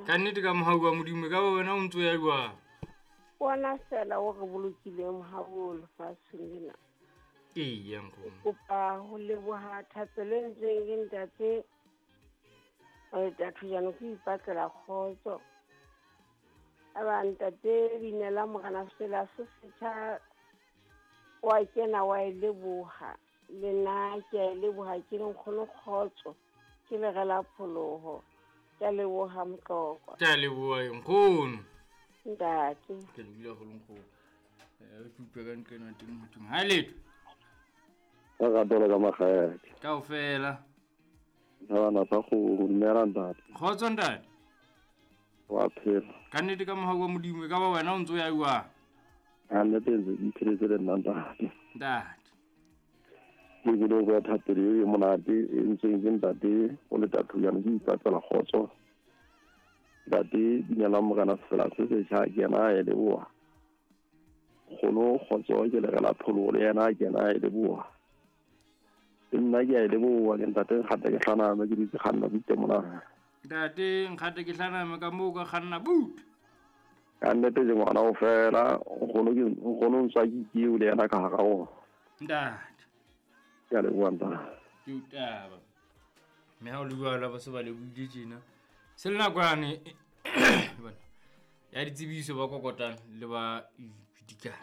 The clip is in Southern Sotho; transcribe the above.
Ka nnete ka mohau wa Modimo, e ka ba wena o ntso ya jwang? Bona fela o re bolokileng mohau o lefatsheng lena. Eya nkgono. Kopa ho leboha thapelo e ntseng ke ntate Thujano ke ipatlela kgotso. Aba ntate Binela Morena Sela se setjha wa kena wa e leboha. Le nna ke a e leboha ke le nkgono kgotso. Ke le rela pholoho. Ke a leboha Motlokwa. Ke a leboha nkgono. Ntate. Ke lebile haholo nkgono. Ke utlwe ka nqena teng ho thweng. Ha letho. Ka ratela ka makgele. Kaofela. Thabana sa kgomo, dumela ntate. Kgotso ntate. Wa phela. Ka nnete ka mohau wa Modimo, e ka ba wena o ntso ya jwang? Ka nnete ntse ke ipheletse le nna ntate. Ntate. Ke bile go ya thapelo e monate e ntseng ke ntate o le tathujana ke ipatlela kgotso. Ntate Binela Morena Sefela se setjha ke yena a e leboha. Kgono kgotso ke le rela pholoho le yena ke yena a e leboha. Le nna ke a e leboha ke ntate Nkgate ke hlaname ke dutse kganna butle mona. Ntate Nkgate ke hlaname ka moo ka kganna butle. Ka nnete ke ngwana o fela nkgono ke nkgono ntswa ke keo le yena ka hara ona. Ntate. Ke a leboha ntate. Ke o taba. Mme ha o le jwalo ba se ba lebohile tjena. Se le nako yane bona ya ditsebiso ba kokotang le ba ipitikang.